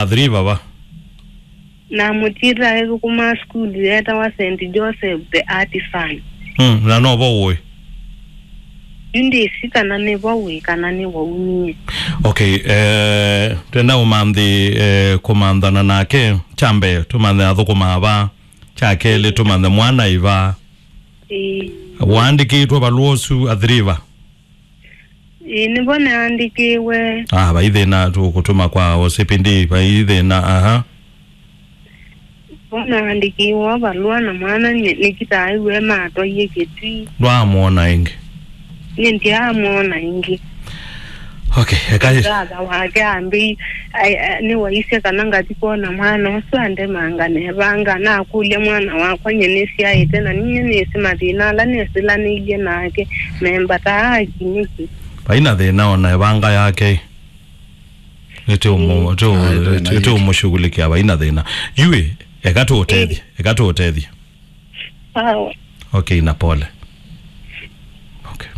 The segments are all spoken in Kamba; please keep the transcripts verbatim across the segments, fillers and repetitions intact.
Athiri vava. Na mũtiĩta ethũkũma sukulu yetawa Saint Joseph the Artisan. Mm, na no vo ũĩ? Yu ndĩsĩ kana nĩ vo wĩ kana nĩ waumie. Okay, eh, twenda ũmanthi, eh, kũmanthana nake, kya mbee tũmanthe athũkũmaa va, kya kelĩ tũmanthe mwana ĩ va. Ĩĩ. Waandĩkĩtwe valũa ũsu athiri va? Ĩĩ, nĩvo naandĩkĩwe. Ah, vai thĩna, tũkũtũma kwa O C P D, vai thĩna, aha. Vo naandĩkĩwe valũa na mwana nĩ-, nĩkĩtaa ĩw'e matwaie Kĩtui. Ndwaamwona ĩngĩ? Nĩ ndyaamwona ĩngĩ. Okay, eka. Brother wake ambĩi, ai, ai, nĩwaisye kana ngathi kwona mwana ũsu andemanga nevanga. Nakũlya mwana wakwa nye nĩsyaĩte na ninyie nĩsĩ mathĩna ala nesĩlanĩilye nake. Membataa aki nĩkĩ? Vai na thĩna ona evanga yake. Nĩtũmũ-, tũ-, Ai, thĩna tũ-, yake. Tũmũshughulikia vai na thĩna. Yui, eka tũũtethye, eka tũũtethye. Sawa. Okay, na pole. Okay.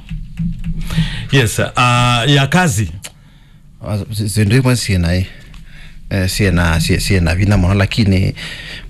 Yes, uh, ya kazi. Ah, si-, syĩndũ imwe syĩ na, eh, syĩ na, syĩ, syĩ na vinya mũno, lakini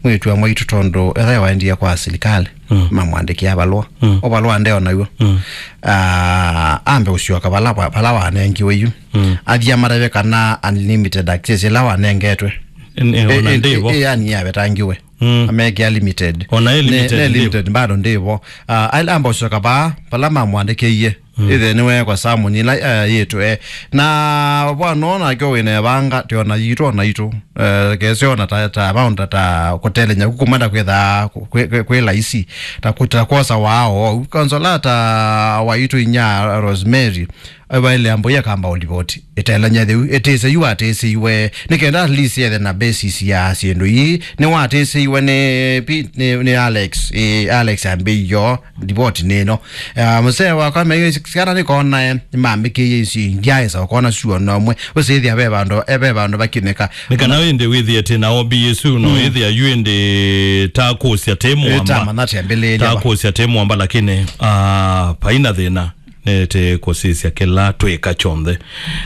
mwĩĩtu wa mwaitũ tondũ etha waendie kwa silikalĩ, mm, mamwandĩkĩa valũa. Mm. O valũa ndeo naw'o. Mm. Ah, ambe ũsyoka vala wa-, vala wanengiwe yu. Mm. Athi amatavye kana unlimited access ĩla wanengetwe. N-, eh, ona ĩ-, ĩ-, ndĩvo. Ĩ-, yani yavetangiwe. Mm. Amekĩa limited. Ona ĩ ne, limited ne ndĩvo. Limited bado ndĩvo. Ah, aila amba ũsyoka vaa, vala mamwandĩkĩie. Mm. Ĩthe nĩwekwa Samu nila, eh, yĩtũ, eh. Na vwano nake wĩna evanga, tĩ ona yitũ, ona itũ. Eh, kesi ona ta, ta amount ta, ta kũtelenya kukumanda kwĩtha kwĩ, kwĩ, kwĩ laisi. Ta kũ-, ta kwosa wao. Konsola ta waitũ inya Rosemary. Evaile ambo yakamba ulivoti. Ĩtelanya theu, ĩtĩse yu atĩsĩiwe. Nĩkenda at least ethe na basis ya syĩndũ ii. Nĩwatĩsĩiwe nĩ pi-, nĩ, nĩ Alex. Ĩ, Alex ambĩio. Ripoti nĩno. Ah, mũsee wakwa meio syana nĩkonae, nĩmambĩkĩie isu ingĩ aĩsa ũkona suo nomwe. Ũsĩthĩa ve vandũ, e ve vandũ vakinĩka. Nĩ kana ĩndĩ wĩthĩe tĩ na O B S no, mm, ĩthĩa yu ĩndĩ ta kũsya tĩ, eh, mwamba. Tamanya tĩambĩlĩĩlya ta va. Kũsya tĩ mwamba, lakini, ah, paina thĩna. Nĩtĩ kũsisya kĩla twĩka kyonthe.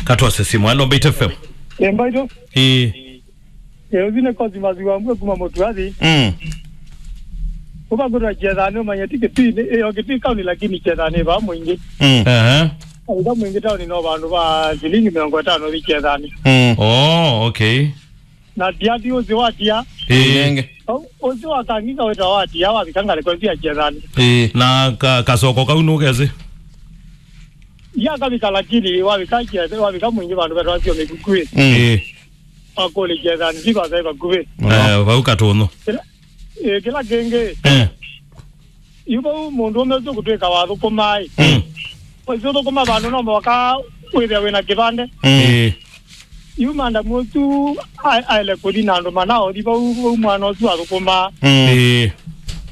Katwase simu. Hello, Mbaitu F M. Ĩ, Mbaitu. Ĩ. Ĩ, ũthi nĩ Cosmas wa Mbue kuma Mũtuathi. Mm. Ũva kũtwa Kyethani, ũmanye ti Kitui, nĩ, ĩyo Kitui kaunti, lakini Kyethani va mũingĩ. Mm. Ehe. Kaunti va mũingĩ tauni no vandũ va silingi mĩongo ĩtano ũthi Kyethani. Mm. Oh, okay. Na tiati ũsi watia. Ĩ. Nenge. Ũsi wa Kangika wĩtawa watia, wavika ngalĩko cia Kyethani. Ĩ. Na ka-, kasoko kau nũkesĩ? Yakavika, lakini wavika Kyethani, wavika mũingĩ vandũ vetawa sio mĩkukuĩ. Mm. Ĩ. Wakũlĩkya ethani ti vasai vakuvĩ. Eh, vau katũnũ. Kĩla, ĩ, kĩla kĩngĩ, eh, yu vau mũndũ ũme ũsu kũtwĩka wathũkũmaĩ. Mm. Ũsu ũthũkũma vandũ no mũvaka wĩthĩa wĩna kĩvande. Mm. Ĩ. Yu mandamu ũsu a-, aĩle kũthi na andũ mana othi vau, vau mwana ũsu athũkũmaa. Mm. Ĩ.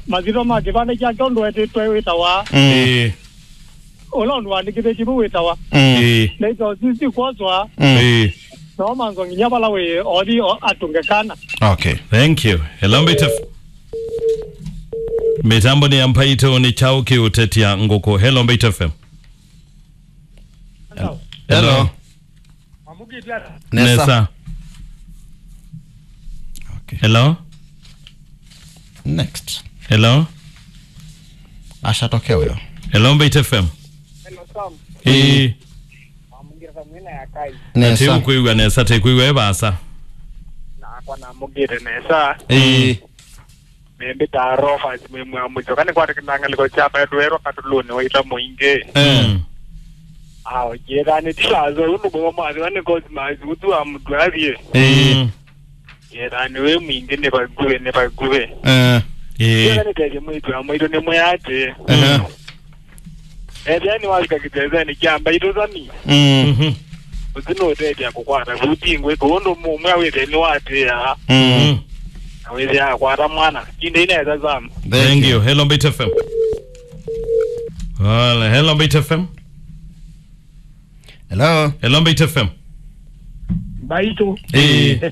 Mathitho ma kĩvande kyake ũndũ etĩtwe wĩtawa. Mm. Ĩ. Ũla ũndũ wandĩkĩthĩtye vau wĩtawa. Mm. Ĩĩ. Naitwa Sisi kwoswa. Mm. Ĩĩ. No manzo nginya vala wĩ othi o-, atũnge kana. Okay. Thank you. Hello, Mbaitu F M. Mĩtambo nĩ ya Mbaitu, nĩ kyaũ kĩũtetya ngũkũ? Hello, Mbaitu F M. Hello. Hello. Hello. Mamũkĩte ata? Nesa. Nesa. Okay. Hello? Next. Hello? Ashatokea huyo. Hello, Mbaitu F M. Hello, Sam. Ĩĩ. Mamũkĩte ata mwĩna ya kai? Nesa. Ati ũkwĩw'a nesa, te kwĩw'a e vaasa. Nakwa namũkĩte nesa. Ĩĩ. Nĩmbĩtaa Rofas mwĩ mwamũtyo. Kana nĩkwatĩkĩlaa ngalĩko sya maĩtu erwa katũlũnĩ wa ita mũingĩ. Eh. Mm. Ao, Kyethani ti vaasa, ũndũ mũmo mwathiwa nĩ Cosmas, ũtu wa mũtu athiĩ. Eh. Mm. Kyethani wĩ mwingĩ nĩ vakuvĩ, nĩ vakuvĩ. Eh. Eh. Kyethani tethye mwĩtu wa mwĩtu nĩ mwĩatĩ. Eh. Mm. Ethĩa nĩwavika kĩtesenĩ kya Mbaitu Sami. Mm. Mhm. Ũsu nũũtethya kũkwata vuti ngwĩ kũũ ũndũ mũmwe wĩthĩe nĩwatĩĩaa. Mm. Na wĩthĩa akwata mwana. Ĩndĩ inesa Sam. Thank you. Hello, Mbaitu F M. Hello, hello, Mbaitu F M. Hello. Hello, Mbaitu F M. Mbaitu. Ĩĩ.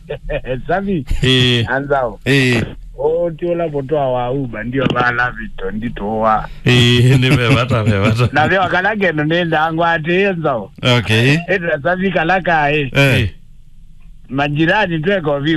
Savi. Ĩĩ. Anzao. Ĩĩ. Ũũ ti ũla mũtwa wa Uber, ndio vala vito, nditũwa. Ĩĩ, nĩ ve vata, ve vata. Na vyo kala kendo nĩ ndangwa atĩ nzao. Okay. Ĩtwa Savi kala kaĩ. Eh. Majirani tweka ũvinga.